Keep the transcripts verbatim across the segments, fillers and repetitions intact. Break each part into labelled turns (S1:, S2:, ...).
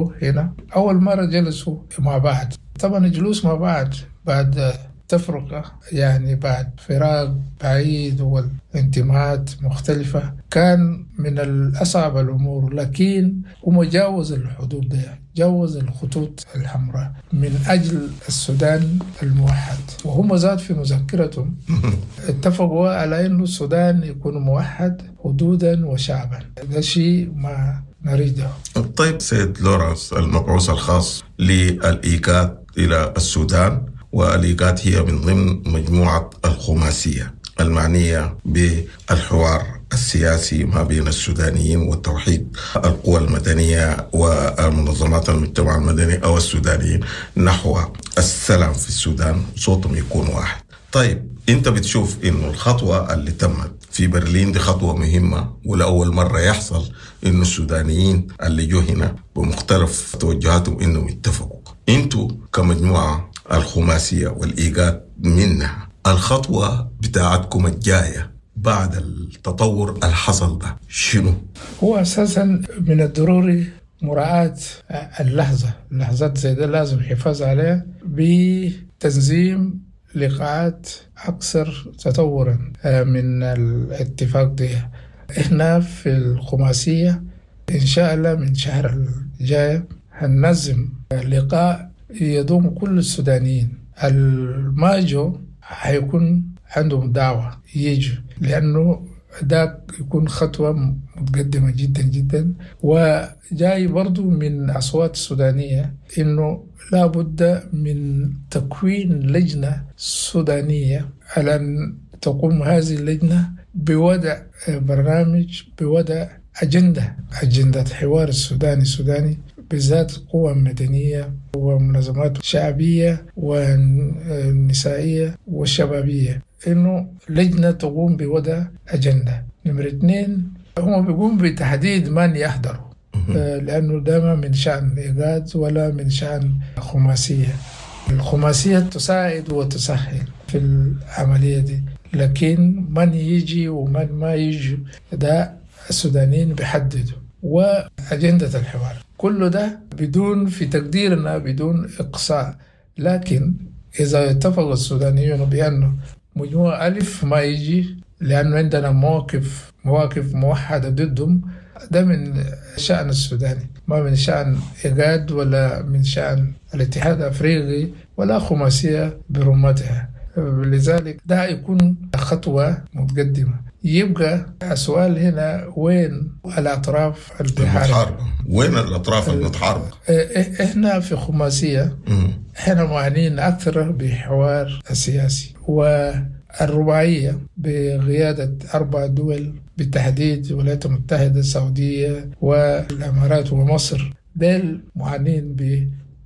S1: جو هنا أول مرة جلسوا مع بعض. طبعا الجلوس مع بعض بعد تفرقة يعني بعد فراق بعيد والانتماءات مختلفة كان من الأصعب الأمور، لكن هم جاوزوا الحدود دي، جاوزوا الخطوط الحمراء من أجل السودان الموحد. وهم ذات في مذكرتهم اتفقوا على أنه السودان يكون موحد حدودا وشعبا، ده شيء ما نريده.
S2: طيب سيد لورانس المبعوث الخاص للإيقاد إلى السودان، والإيقاد هي من ضمن مجموعة الخماسية المعنية بالحوار السياسي ما بين السودانيين والتوحيد القوى المدنية والمنظمات المجتمع المدني أو السودانيين نحو السلام في السودان، صوتهم يكون واحد. طيب انت بتشوف انه الخطوة اللي تمت في برلين دي خطوة مهمة، ولأول مرة يحصل انه السودانيين اللي جو هنا بمختلف توجهاتهم انهم يتفقوا. انتوا كمجموعة الخماسية والإيقاد منها، الخطوة بتاعتكم الجاية بعد التطور الحصل ده شنو؟
S1: هو أساسا من الضروري مراعاة اللحظة، اللحظات زي ده لازم الحفاظ عليها بتنظيم لقاءات أكثر تطورا من الاتفاق ده. إحنا في الخماسية إن شاء الله من شهر الجاي هننظم لقاء يضم كل السودانيين. الماجو حيكون عندهم دعوة يجوا، لأنه ده يكون خطوة متقدمة جدا جدا، وجاي برضو من أصوات السودانية إنه لابد من تكوين لجنة سودانية على أن تقوم هذه اللجنة بوضع برنامج، بوضع أجندة، أجندة حوار السوداني السوداني بالذات قوى مدنية ومنظمات شعبية ونسائية والشبابية، إنه لجنة تقوم بوضع أجندة. نمرة اثنين، هم بيقوم بتحديد من يحضروا، لأنه ده ما من شأن إيقاد ولا من شأن خماسية. الخماسية تساعد وتسهل في العملية دي، لكن من يجي ومن ما يجي ده السودانيين بيحددوا. وأجندة الحوار كل ده بدون في تقديرنا بدون إقصاء، لكن إذا اتفق السودانيون بأنه مجموعة ألف ما يجي لأنه عندنا مواقف، مواقف موحدة ضدهم، ده من شأن السوداني، ما من شأن إيقاد ولا من شأن الاتحاد الأفريقي ولا خماسية برمتها. لذلك ده يكون خطوة متقدمة. يبقى السؤال هنا وين الأطراف المتحاربة؟
S2: وين الأطراف المتحاربة؟
S1: إحنا في خماسية إحنا معنيين أكثر بحوار السياسي، والرباعية بقيادة أربع دول بالتحديد الولايات المتحدة، السعودية والإمارات ومصر، دول معنيين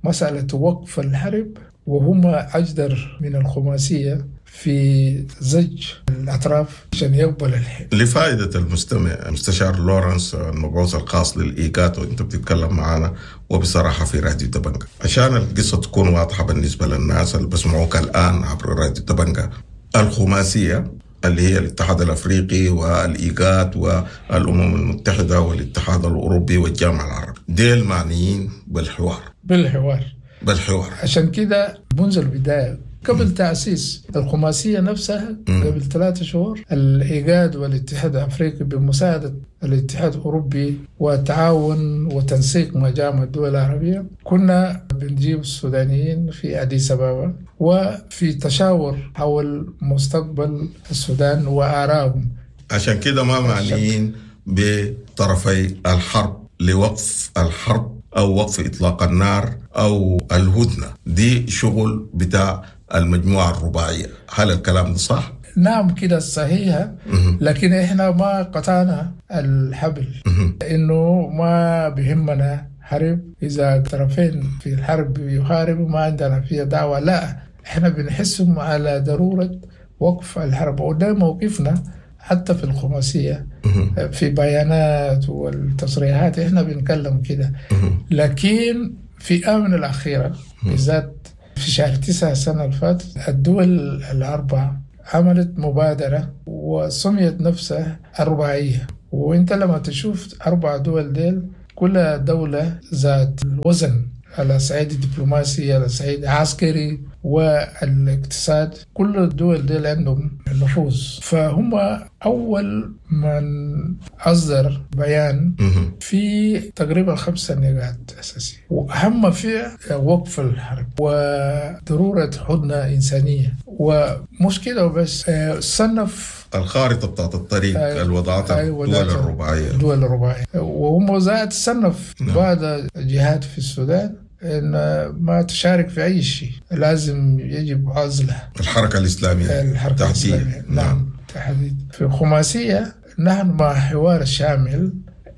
S1: بمسألة وقف الحرب، وهم أجدر من الخماسية في زج الأطراف عشان يقبل الحل.
S2: لفائدة المستمع، مستشار لورنس المبعوث الخاص للإيقاد، وأنت بتتكلم معنا وبصراحة في راديو دبنجا، عشان القصة تكون واضحة بالنسبة للناس اللي بسمعوك الآن عبر راديو دبنجا، الخماسية اللي هي الاتحاد الأفريقي والإيقاد والأمم المتحدة والاتحاد الأوروبي والجامعة العربية، ديل معنيين بالحوار.
S1: بالحوار
S2: بالحوار.
S1: عشان كده منذ البداية قبل تأسيس الخماسية نفسها قبل ثلاثة شهور، الإيقاد والاتحاد الأفريقي بمساعدة الاتحاد الأوروبي وتعاون وتنسيق مع جامعة الدول العربية، كنا بنجيب السودانيين في أديس أبابا وفي تشاور حول مستقبل السودان وآرائهم.
S2: عشان كده ما معنيين بطرفي الحرب لوقف الحرب أو وقف إطلاق النار أو الهدنة، دي شغل بتاع المجموعة الرباعية. هل الكلام ده صح؟
S1: نعم كده صحيح، لكن إحنا ما قطعنا الحبل، إنه ما بهمنا حرب، إذا طرفين في الحرب يحاربوا ما عندنا فيها دعوة، لا إحنا بنحسهم على ضرورة وقف الحرب، وده موقفنا حتى في الخماسية في بيانات والتصريحات إحنا بنتكلم كده. لكن في آونة الأخيرة بالذات في شهر تسعة سنة الفات، الدول الأربعة عملت مبادرة وسميت نفسها الرباعية، وانت لما تشوف أربع دول ديل كل دولة ذات الوزن على صعيد الدبلوماسي، على صعيد العسكري والاقتصاد، كل الدول دي عندهم نفوذ. فهم أول من أصدر بيان في تقريبا خمسة نقاط أساسية، وأهم فيها وقف الحرب وضرورة هدنة إنسانية. ومش كده وبس، صنف
S2: الخارطة بتاعت الطريق
S1: أيوة.
S2: الوضعتها
S1: أيوة،
S2: الدول
S1: وضعتها.
S2: الرباعية.
S1: الدول الرباعية، وهم ذات صنف
S2: نعم.
S1: بعض الجهات في السودان إن ما تشارك في أي شيء، لازم يجب عزلها.
S2: الحركة الإسلامية
S1: الحركة
S2: تحديد.
S1: الإسلامية. نعم تحديد. في خماسية نحن مع حوار شامل،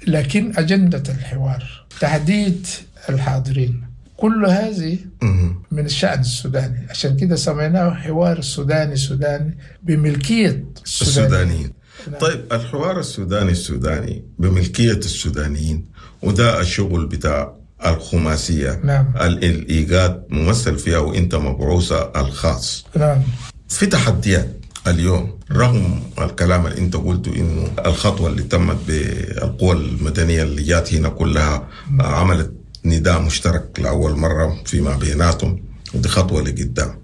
S1: لكن أجندة الحوار تحديد الحاضرين، كل هذه
S2: مهم.
S1: من الشأن السوداني. عشان كده سميناه حوار سوداني سوداني بملكية السودانيين.
S2: السودانيين.
S1: نعم.
S2: طيب الحوار السوداني السوداني بملكية السودانيين، وده الشغل بتاع الخماسية.
S1: نعم.
S2: ال-، الإيجاد ممثل فيها وإنت مبعوثة الخاص.
S1: نعم.
S2: في تحديات اليوم رغم الكلام اللي انت قلته انه الخطوة اللي تمت بالقوى المدنية اللي جات هنا كلها عملت نداء مشترك لأول مرة فيما بيناتهم، ودي خطوة لقدام،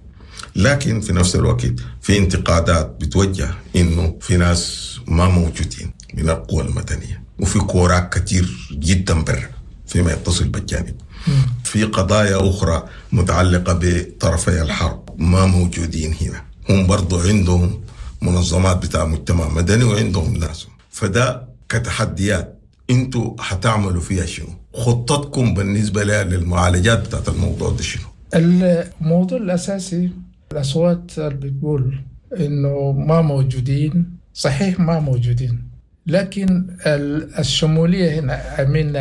S2: لكن في نفس الوقت في انتقادات بتوجه انه في ناس ما موجودين من القوى المدنية، وفي كوراك كتير جدا برا فيما يتصل بالجانب، في قضايا أخرى متعلقة بطرفي الحرب ما موجودين هنا، هم برضو عندهم منظمات بتاع مجتمع مدني وعندهم ناس. فده كتحديات انتوا حتعملوا فيها شنو؟ خطتكم بالنسبة للمعالجات بتاعت الموضوع ده شنو؟
S1: الموضوع الأساسي الأصوات اللي بتقول إنه ما موجودين، صحيح ما موجودين، لكن ال-، الشمولية هنا من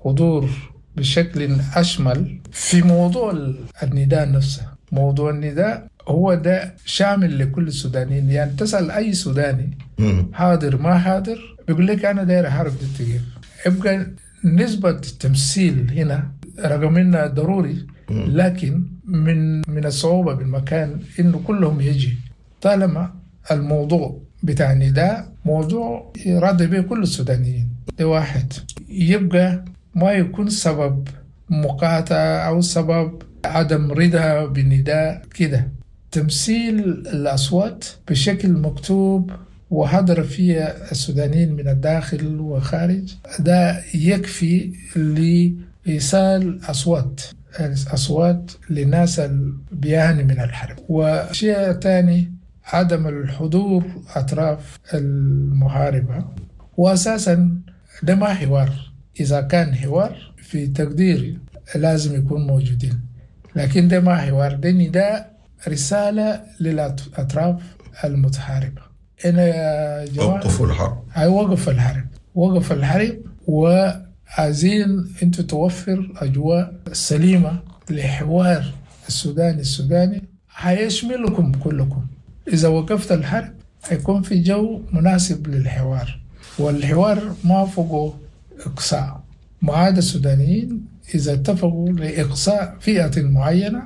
S1: حضور بشكل أشمل في موضوع ال-، النداء نفسه. موضوع النداء هو ده شامل لكل السودانيين، يعني تسأل أي سوداني
S2: مم.
S1: حاضر ما حاضر بيقول لك أنا داير أحارب دي التغيير. يبقى نسبة التمثيل هنا رغم إنها ضروري،
S2: مم.
S1: لكن من، من الصعوبة بالمكان إنه كلهم يجي، طالما الموضوع بتاع النداء موضوع يراضي به كل السودانيين. ده واحد. يبقى ما يكون سبب مقاطعة أو سبب عدم رضا بالنداء كده. تمثيل الأصوات بشكل مكتوب وحضر فيه السودانيين من الداخل وخارج، ده يكفي لإيصال أصوات، أصوات لناس بيعاني من الحرب. وشيء ثاني عدم الحضور أطراف المحاربة، وأساسا ده ما حوار. إذا كان حوار في تقديري لازم يكون موجودين، لكن ده ما حوار، ده نداء رسالة للأطراف المتحاربة. أنا يا جماعة
S2: وقفوا الحرب.
S1: هاي وقف الحرب، وقف الحرب، وعايزين أنتوا توفر أجواء سليمة لحوار السوداني السوداني هيشملكم كلكم. إذا وقفت الحرب هيكون في جو مناسب للحوار، والحوار ما فوقه إقصاء. ما عدا السودانيين إذا اتفقوا لإقصاء فئة معينة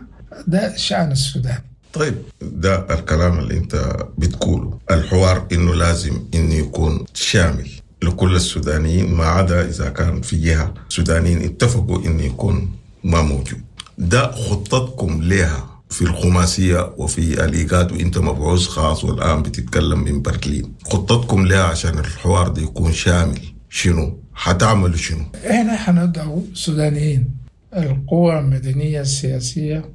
S1: ده شأن السودان.
S2: طيب ده الكلام اللي أنت بتقوله، الحوار إنه لازم إنه يكون شامل لكل السودانيين ما عدا إذا كان في جهة سودانيين اتفقوا إنه يكون ما موجود. ده خطتكم لها في الخماسية وفي الإيجاد، وإنت مبعوث خاص والآن بتتكلم من برلين، خطتكم لها عشان الحوار ده يكون شامل شنو؟ حتعملوا شنو؟
S1: إحنا حندعو سودانيين، القوى المدنية السياسية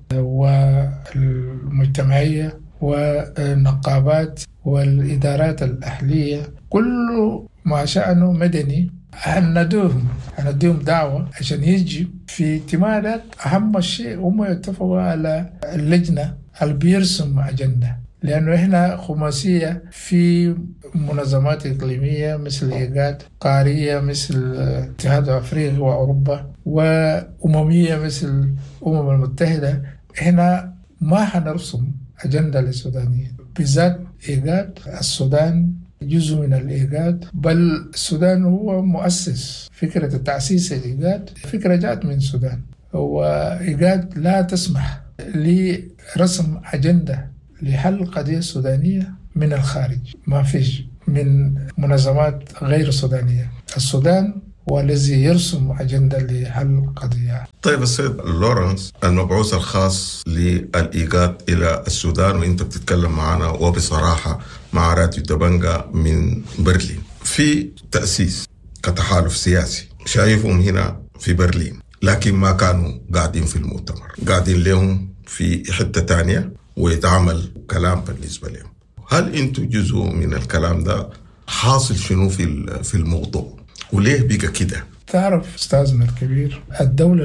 S1: والمجتمعية والنقابات والإدارات الأهلية، كل ما شأنه مدني هندوهم، هنديهم دعوة عشان يجي في اجتماع. أهم شيء هم يتفقوا على اللجنة اللي بيرسم أجندة، لأنه إحنا خماسية في منظمات إقليمية مثل إيجاد، قارية مثل الاتحاد الأفريقي وأوروبا، وأممية مثل الأمم المتحدة. إحنا ما حنرسم أجندة للسودانيين، بالذات إيجاد. السودان جزء من الإيجاد، بل السودان هو مؤسس فكرة التأسيس الإيجاد، فكرة جاءت من السودان. وإيجاد لا تسمح لرسم أجندة لحل القضية السودانية من الخارج، ما فيش من منظمات غير سودانية. السودان والذي يرسم أجندة لحل قضية.
S2: طيب السيد لورنس المبعوث الخاص للإيجاد إلى السودان، وإنت بتتكلم معنا وبصراحة مع راديو دبنجا من برلين في تأسيس كتحالف سياسي شايفهم هنا في برلين، لكن ما كانوا قاعدين في المؤتمر، قاعدين لهم في حتة تانية ويتعمل كلام بالنسبة لهم. هل انتوا جزء من الكلام ده؟ حاصل شنو في في الموضوع وليه بقى كده؟
S1: تعرف أستاذنا الكبير، الدولة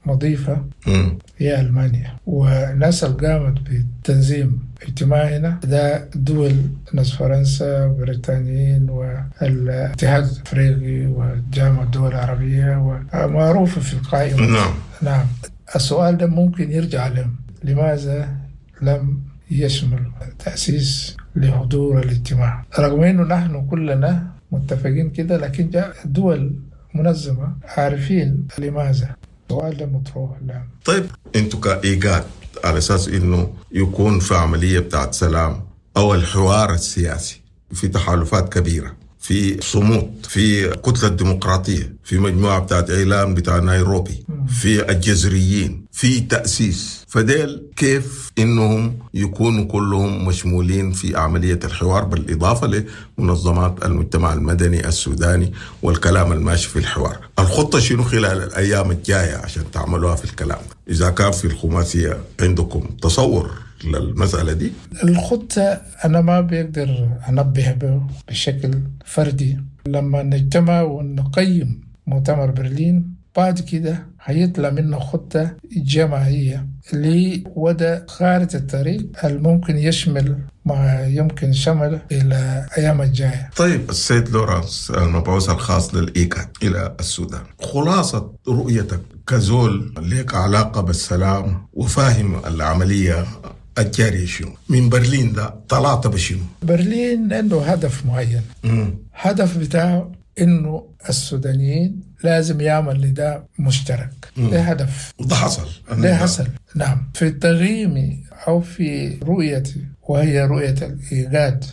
S1: المضيفة
S2: مم.
S1: هي ألمانيا، والناس اللي قامت بتنظيم اجتماعنا ده دول ناس فرنسا وبريطانيين والاتحاد الأفريقي وجامعة الدول العربية ومعروفة في القائمة.
S2: نعم.
S1: نعم. السؤال ده ممكن يرجع لهم، لماذا لم يشمل تأسيس لحضور الاجتماع؟ رغم أنه نحن كلنا متفقين كده، لكن جاء دول منظمة عارفين لماذا. السؤال ده مطروح لهم.
S2: طيب انتوا كإيجاد على أساس إنه يكون في عملية بتاعت سلام أو الحوار السياسي، في تحالفات كبيرة، في صمود، في كتلة ديمقراطية، في مجموعة بتاعت إعلام بتاع نيروبي، في الجزريين، في تأسيس، فديل كيف إنهم يكونوا كلهم مشمولين في عملية الحوار، بالإضافة لمنظمات المجتمع المدني السوداني والكلام الماشي في الحوار؟ الخطة شنو خلال الأيام الجاية عشان تعملوها في الكلام ده؟ إذا كان في الخماسية عندكم تصور للمسألة دي؟
S1: الخطة أنا ما بقدر أنبه به بشكل فردي. لما نجتمع ونقيم مؤتمر برلين بعد كده هيطلع منه خطة جماعية لوضع خارطة الطريق الممكن يشمل ما يمكن شمله إلى أيام الجاية.
S2: طيب السيد لورانس المبعوث الخاص للإيكاد إلى السودان، خلاصة رؤيتك كزول لك علاقة بالسلام وفاهم العملية الجارية شنو من برلين ده طلعت بشنو؟
S1: برلين عنده هدف معين.
S2: مم.
S1: هدف بتاعه إنه السودانيين لازم يعمل نداء مشترك. ده هدف.
S2: وده حصل.
S1: ده حصل. نعم. في تقييمي أو في رؤيتي، وهي رؤية الإيجاد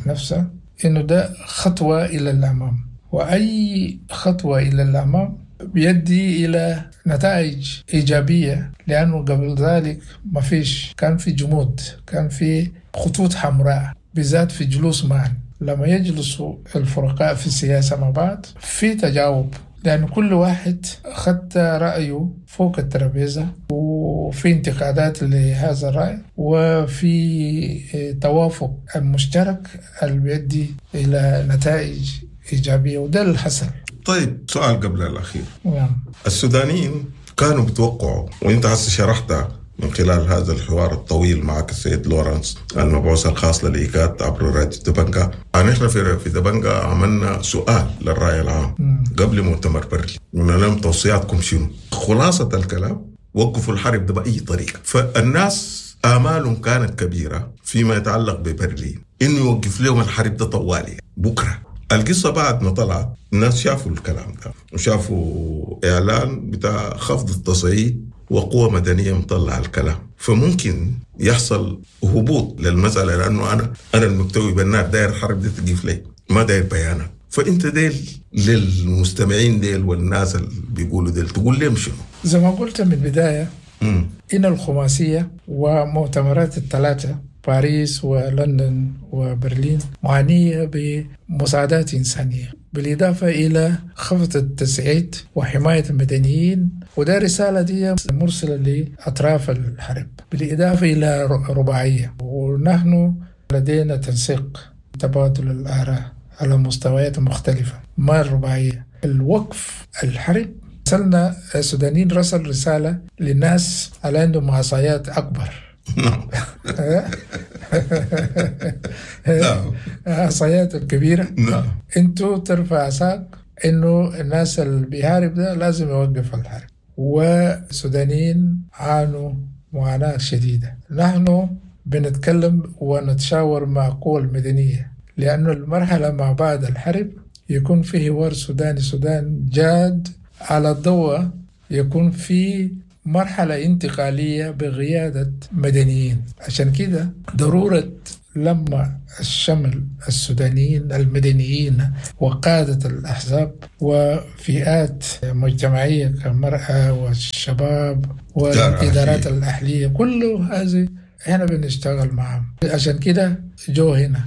S1: نفسها، إنه ده خطوة إلى الأمام، وأي خطوة إلى الأمام بيدي إلى نتائج إيجابية، لأنه قبل ذلك ما فيش، كان في جمود، كان في خطوط حمراء، بالذات في جلوس معا. لما يجلسوا الفرقاء في السياسة مع بعض في تجاوب، لأن كل واحد خد رأيه فوق الترابيزة، وفي انتقادات لهذا الرأي، وفي توافق مشترك اللي بيؤدي إلى نتائج إيجابية، وده اللي حصل.
S2: طيب سؤال قبل الأخير.
S1: نعم.
S2: السودانيين كانوا بيتوقعوا، وانت هسه شرحتها من خلال هذا الحوار الطويل معك السيد لورنس المبعوث الخاص للإيجاد عبر راديو دبنجا، نحن في في دبنجا عملنا سؤال للرأي العام
S1: مم.
S2: قبل مؤتمر برلين، قلنا لهم توصياتكم شنو؟ خلاصة الكلام وقفوا الحرب ده بأي طريقة. فالناس آمالهم كانت كبيرة فيما يتعلق ببرلين إنه يوقف لهم الحرب ده طوالي بكرة. القصة بعد ما طلعت الناس شافوا الكلام ده وشافوا إعلان بتاع خفض التصعيد وقوة مدنية مطلع الكلام، فممكن يحصل هبوط للمسألة، لأنه أنا أنا المكتوي بالنار داير الحرب دي تقيف لي، ما داير بيانات. فأنت ديل للمستمعين ديل والناس اللي بيقولوا ديل تقول لهم شنو؟
S1: زي ما قلت من البداية،
S2: مم.
S1: إن الخماسية ومؤتمرات الثلاثة باريس ولندن وبرلين معنية بمساعدات إنسانية، بالإضافة إلى خفض التصعيد وحماية المدنيين، وده رسالة دي مرسلة لأطراف الحرب، بالإضافة إلى رباعية. ونحن لدينا تنسيق تبادل الآراء على مستويات مختلفة ما الرباعية. الوقف الحرب رسلنا السودانيين رسل رسالة للناس على عندهم عصايات أكبر.
S2: نعم. نعم.
S1: عصايات الكبيرة.
S2: نعم.
S1: انتوا ترفع عصاك انه الناس اللي بيهارب ده لازم يوقف الحرب. والسودانيين عانوا معاناة شديدة. نحن بنتكلم ونتشاور مع قوى المدنية، لأنه المرحلة مع بعد الحرب يكون في حوار سوداني سودان جاد على الضوء، يكون في مرحلة انتقالية بقيادة مدنيين. عشان كده ضرورة لما الشمل السودانيين المدنيين وقادة الأحزاب وفئات مجتمعية كالمرأة والشباب والإدارات الأهلية، كل هذه احنا بنشتغل معهم. عشان كده جو هنا،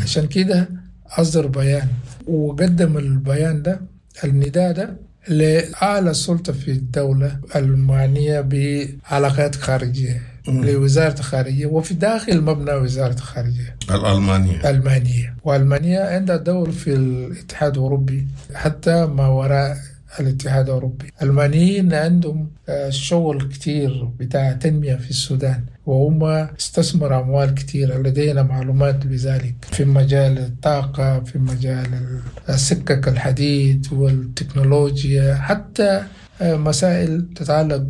S1: عشان كده أصدر بيان وقدم البيان ده، النداء ده لأعلى سلطة في الدولة المعنية بعلاقات خارجية، لوزارة الخارجية وفي داخل مبنى وزارة الخارجية
S2: الألمانية.
S1: ألمانية، وألمانيا عندها دور في الاتحاد الأوروبي حتى ما وراء الاتحاد الأوروبي. الألمانيين عندهم شغل كتير بتاع تنمية في السودان، وهم استثمروا أموال كتير، لدينا معلومات بذلك في مجال الطاقة، في مجال السكك الحديد والتكنولوجيا، حتى مسائل تتعلق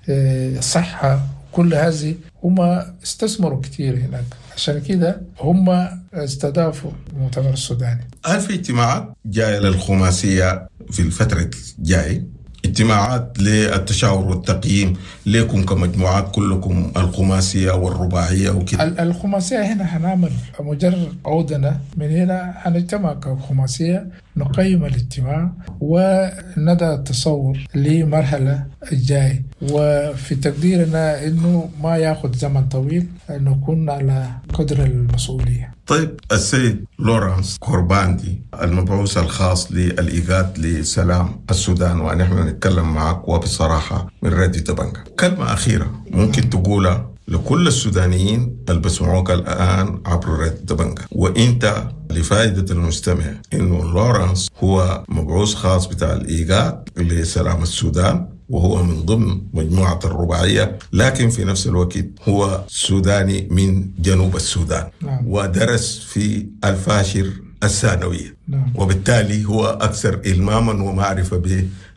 S1: بالصحة، كل هذه هم استثمروا كتير هناك. عشان كده هم استضافوا المؤتمر السوداني.
S2: هل في اجتماعات جاية للخماسية في الفترة الجاية؟ اجتماعات للتشاور والتقييم لكم كمجموعات كلكم الخماسية والرباعية وكده؟
S1: الخماسية هنا هنعمل مجرد عودنا من هنا هنجتمع كخماسية، نقيم الاجتماع ونضع التصور لمرحلة الجاي، وفي تقديرنا انه ما ياخذ زمن طويل، نكون على قدر المسؤولية.
S2: طيب السيد لورانس كورباندي المبعوث الخاص للإيغاد لسلام السودان، ونحن نتكلم معك وبصراحة من راديو دبنجا، كلمة أخيرة ممكن تقولها لكل السودانيين اللي بسمعوك الآن عبر راديو دبنجا، وإنت لفائدة المستمع إنه لورانس هو مبعوث خاص بتاع الإيغاد لسلام السودان، وهو من ضمن مجموعة الرباعية، لكن في نفس الوقت هو سوداني من جنوب السودان.
S1: نعم.
S2: ودرس في الفاشر الثانوية.
S1: نعم.
S2: وبالتالي هو أكثر إلماما ومعرفة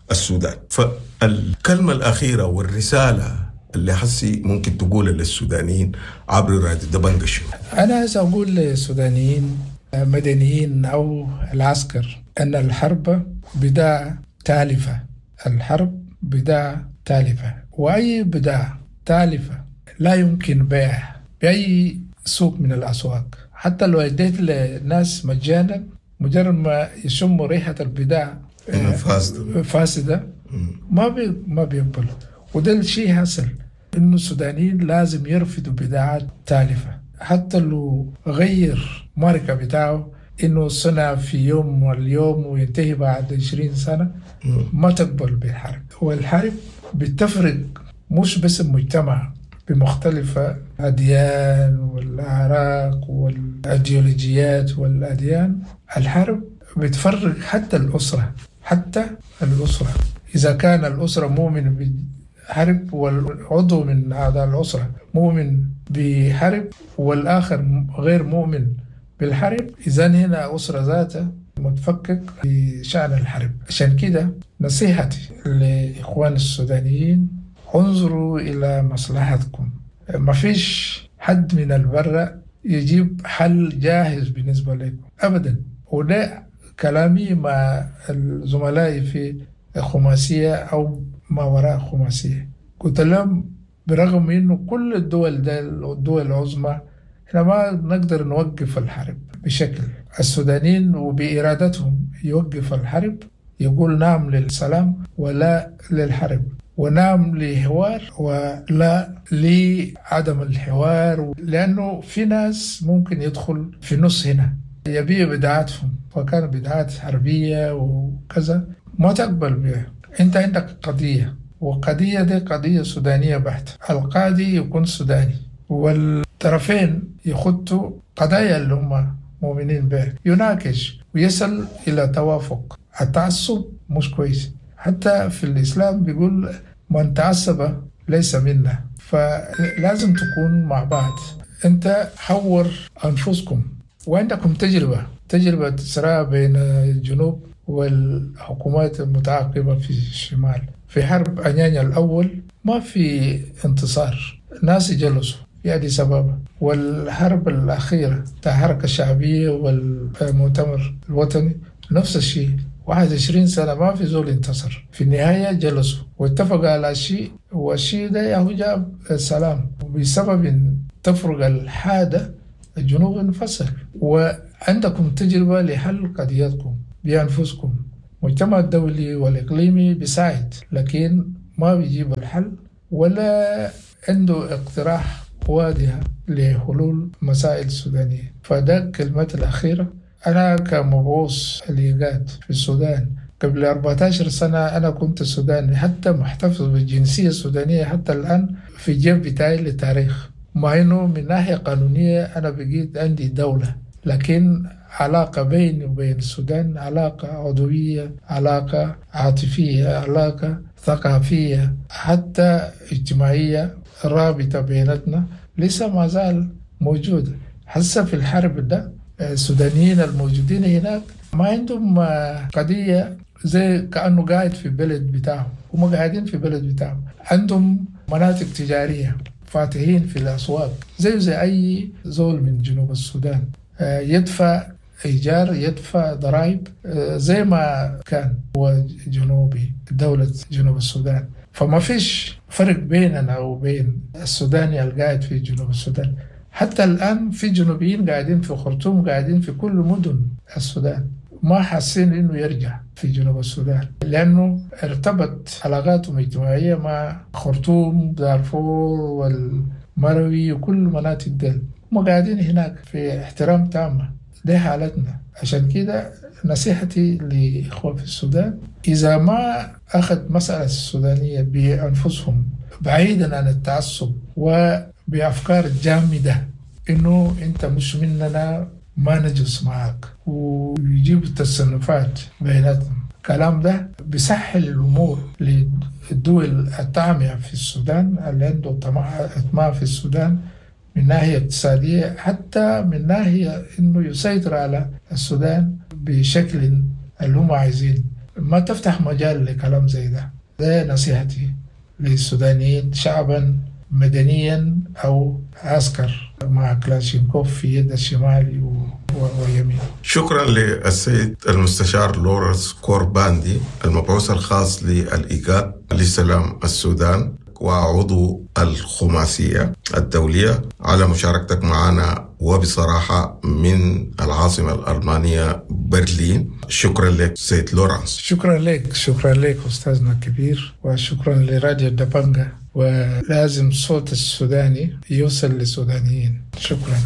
S2: بالسودان. فالكلمة الأخيرة والرسالة اللي حسي ممكن تقولها للسودانيين عبر راديو دبنجا شنو؟
S1: أنا عايز أقول للسودانيين مدنيين أو العسكر أن الحرب بداية تالفة، الحرب بداية تالفة، وأي بداية تالفة لا يمكن بيعها بأي سوق من الأسواق. حتى لو اديت لناس مجانا، مجرد ما يشموا ريحة البداية
S2: فاسدة
S1: فاسدة ما بي ما بيقبلوا. وده الشيء حصل، إنه السودانيين لازم يرفضوا بدعات تالفة، حتى لو غير ماركة بتاعه إنه صنع في يوم واليوم وينتهي بعد عشرين سنة، ما تقبل بالحرب. والحرب بتفرق مش بس المجتمع بمختلف أديان والأعراق والأيديولوجيات والأديان، الحرب بتفرق حتى الأسرة، حتى الأسرة إذا كان الأسرة مؤمن بحرب والعضو من أعضاء الأسرة مؤمن بحرب والآخر غير مؤمن بالحرب، إذن هنا أسرة ذاتها متفكك بشأن الحرب. عشان كده نصيحتي لإخوان السودانيين، انظروا إلى مصلحتكم، ما فيش حد من البرة يجيب حل جاهز بالنسبة لكم أبدا. وده كلامي مع زملائي في خماسية أو ما وراء خماسية، قلت لهم برغم إنه كل الدول ده الدول العظمى إحنا ما نقدر نوقف الحرب بشكل، السودانيين وبإرادتهم يوقف الحرب، يقول نعم للسلام ولا للحرب، ونعم لحوار ولا لعدم الحوار، لأنه في ناس ممكن يدخل في نص هنا يبيع بدعاتهم، وكان بدعات حربية وكذا ما تقبل بها. أنت عندك قضية، وقضية دي قضية سودانية بحتة، القاضي يكون سوداني والطرفين يخطوا قضايا اللي هم مؤمنين بها، يناقش ويصل إلى توافق. التعصب مش كويس، حتى في الإسلام بيقول من تعصب ليس منا، فلازم تكون مع بعض. أنت حور أنفسكم، وعندكم تجربة، تجربة صراع بين الجنوب والحكومات المتعاقبة في الشمال. في حرب أنيانيا الأول ما في انتصار، ناس جلسوا في أديس أبابا، والحرب الأخيرة تاع الحركة الشعبية والمؤتمر الوطني نفس الشيء، واحد وعشرين سنة ما في زول انتصر. في النهاية جلسوا واتفقوا على شيء، والشيء ده ياهو جاب السلام. وبسبب تفرق الحادة الجنوب انفصل. وعندكم تجربة لحل قضيتكم بأنفسكم. المجتمع الدولي والإقليمي بيساعد، لكن ما بيجيب الحل ولا عنده اقتراح واضح لحلول مسائل السودانية. فده كلمتي الأخيرة. أنا كمبعوث الإيقاد في السودان قبل أربعتاشر سنة أنا كنت سوداني، حتى محتفظ بالجنسية السودانية حتى الآن في الجيب بتاعي للتاريخ، مع إنه من ناحية قانونية أنا بقيت عندي دولة، لكن علاقة بيني وبين السودان علاقة عضوية، علاقة عاطفية، علاقة ثقافية، حتى اجتماعية، رابطة بيناتنا لسه ما زال موجودة. هسه في الحرب ده السودانيين الموجودين هناك ما عندهم قضية زي كأنه قاعد في بلد بتاعهم، هم قاعدين في بلد بتاعهم، عندهم مناطق تجارية فاتحين في الأسواق زي زي أي زول من جنوب السودان، يدفع إيجار، يدفع ضرائب زي ما كان هو جنوبي دولة جنوب السودان. فما فيش فرق بيننا وبين السوداني القاعد في جنوب السودان. حتى الآن في جنوبيين قاعدين في خرطوم، قاعدين في كل مدن السودان، ما حاسين إنه يرجع في جنوب السودان، لأنه ارتبط علاقاتهم الاجتماعية مع خرطوم، دارفور والمروي وكل مناطق ديل، هم قاعدين هناك في احترام تام. دي حالتنا. عشان كده نصيحتي لإخوة في السودان، إذا ما أخذ مسألة السودانية بأنفسهم بعيدا عن التعصب وبأفكار جامدة إنه أنت مش مننا ما نجلس معاك، ويجيب التصنفات بيناتهم، الكلام ده بيسهل الأمور للدول الطامعة في السودان، اللي عنده طمع في السودان من ناحية اقتصادية، حتى من ناحية إنه يسيطر على السودان بشكل اللي هم عايزين. ما تفتح مجال لكلام زي ده. ده نصيحتي للسودانيين شعبا مدنيا أو عسكر مع كلاشينكوف في يد الشمال واليمين.
S2: شكرا للسيد المستشار لورنس كورباندي المبعوث الخاص للإيقاد لسلام السودان وعضو الخماسية الدولية على مشاركتك معنا وبصراحة من العاصمة الألمانية برلين. شكرا لك سيد لورنس.
S1: شكرا لك، شكرا لك أستاذنا الكبير، وشكرا لراديو دبنجة، ولازم صوت السوداني يوصل للسودانيين. شكرا.